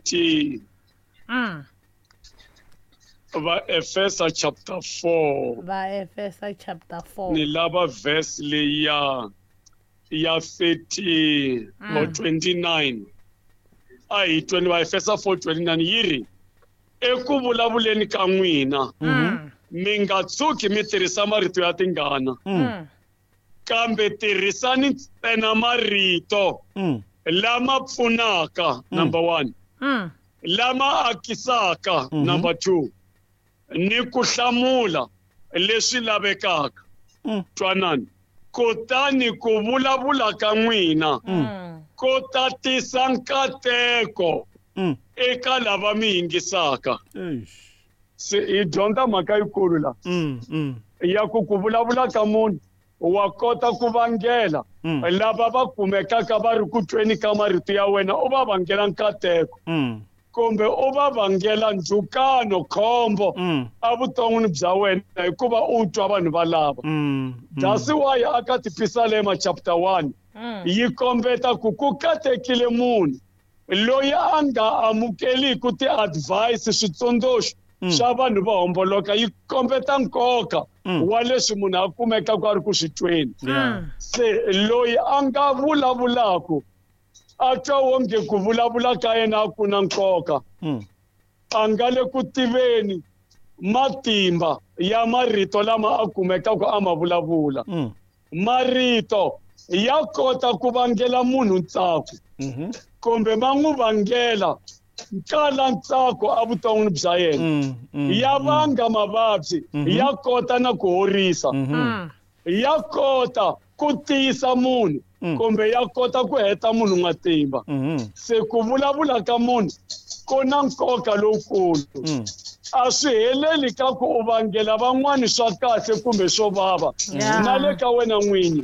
30. Vaefesa chapter 4. Vaefesa chapter 4. Ni lava verse leyi ya 30 or 29. A hi 20 Vaefesa 4:29 yi ri eku vulavuleni ka n'wina mi nga tshuki mi tirhisa marito ya tingana, kambe tirhisani ntsena marito lama pfunaka, number 1, lama akisaka, number 2, ni ku hlamula leswi lavekaka. Twanani, kutani ku vulavula ka n'wina ku tatisa nkateko eka lava mi yingisaka. Se hi dyondza mhaka yikulu la ya ku ku vulavula ka munhu wa kota ku vangela lava va kumekaka va ri ku tweni ka marito ya wena, u va vangela nkateko kumbe u va vangela ndzhukano, khombo evuton'wini bya wena, hikuva u twa vanhu va lava. That's why aka Tipisalema chapter 1 yi kombeta ku ku katekile munhu loyi a nga amukeliku ti-advice, switsundzuxo swa vanhu vo homboloka. Yi kombeta nkoka wa leswi munhu a kumekaka a ri ku swi tweni. Se loyi a nga vulavulaku a twa wonge ku vulavula ka yena a ku na nkoka, a nga le ku tiveni matimba ya marito lama a kumekaka a ma vulavula. Marito ya kota ku vangela munhu ntsako kumbe ma n'wi vangela nkala ntsako evuton'wini bya yena. Ya vanga mavabyi, ya kota na ku horisa, ya kota ku tiyisa munhu kumbe ya kota ku heta munhu matimba. Se ku vulavula ka munhu ku na nkoka lowukulu. A swi heleli ka ku u vangela van'wani swa kahle kumbe swo vava, na le ka wena n'winyi.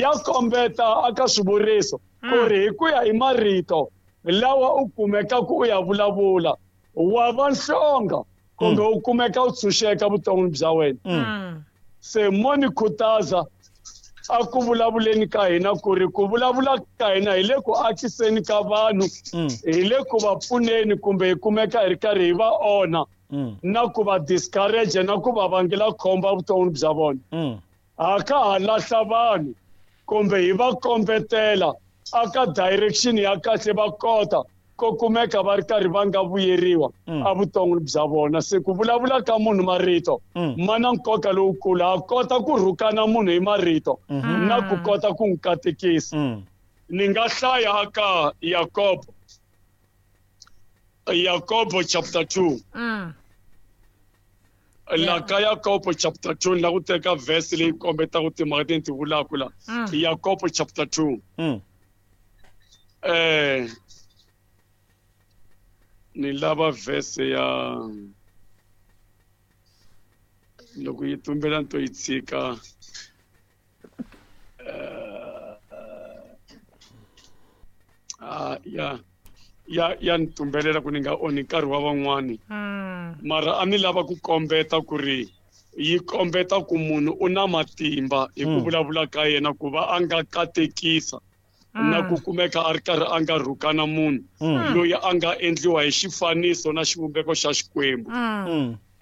Ya kombeta aka swivuriso ku ri hi ku ya hi marito lawa u kumeka ku u ya vulavula, wa va nhlonga kumbe u kumeka u tshunxeka vuton'wini bya wena. Se mo ni khutaza a ku vulavuleni ka hina ku ri ku vulavula ka hina hi le ku akiseni ka vanhu, hi le ku va pfuneni kumbe hi kumeka hi ri karhi hi va onha na ku va discourage na ku va vangela khombo evuton'wini bya vona. Ha ka ha lahla vanhu kumbe hi va kombetela aka direction ya kahle va kota ko kumeka va ri karhi va nga vuyeriwa evuton'wini bya vona. Se ku vulavula ka munhu marito ma na nkoka lowukulu. Ha kota ku rhukana munhu hi marito na ku kota ku n'wi katekisa. Ni nga hlaya aka Yakobo, Yakobo chapter 2. La ka Yakobo chapter 2 ni la ku teka verse leyi kombetaka timhaka leti ni ti vulaka la. Yakobo chapter 2. Ni lava verse ya loko yi tumbela ni to yi tshika. Ya ni tumbelela ku ni nga onhi nkarhi wa van'wani. Mara a ni lava ku kombeta ku ri yi kombeta ku munhu u na matimba hi ku vulavula ka yena ku va a nga katekisa na ku kumeka a ri karhi a nga rhukana munhu loyi a nga endliwa hi xifaniso na xivumbeko xa Xikwembu.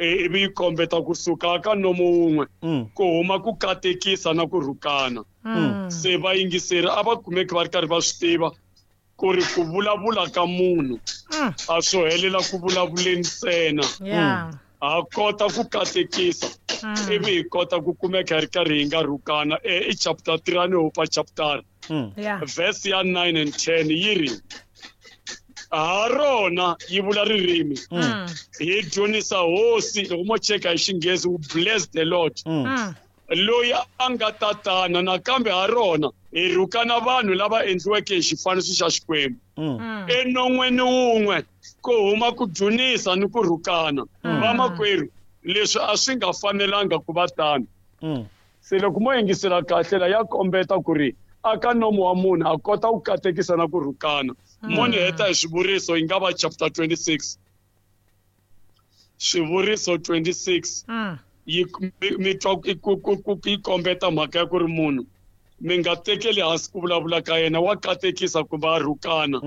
Ivi yi kombeta kusuka ka nomo wun'we ku huma ku katekisa na ku rhukana. Se vayingiseri a va kumeki va ri karhi va swi tiva ku ri ku vulavula ka munhu a swo helela ku vulavuleni ntsena. Ha kota ku katekisa ivi hi kota ku kumeka hi ri karhi hi nga rhukana. I chapter 3 a ni hopa chapter. Verse ya 9 and 10 yi ri ha rona yi vula ririmi hi dzunisa hosi. Loko mo cheka hi Xinghezi, we bless the Lord loyi a nga tatana, nakambe ha rona hi rhukana vanhu lava endliweke hi xifaniso xa Xikwembu. Enon'weni wun'we ku huma ku dzunisa ni ku rhukana. Vamakwerhu, leswi a swi nga fanelanga ku va tano. Se loko mo yingisela kahle la, ya kombeta ku ri aka nomo wa munhu a kota ku katekisa na ku rhukana. Mo ni heta hi Swivuriso, yi nga va chapter 26, Swivuriso 26. Yi mi twa ku yi kombeta mhaka ya ku ri munhu mi nga tekeli hansi ku vulavula ka yena, wa katekisa kumbe a rhukana.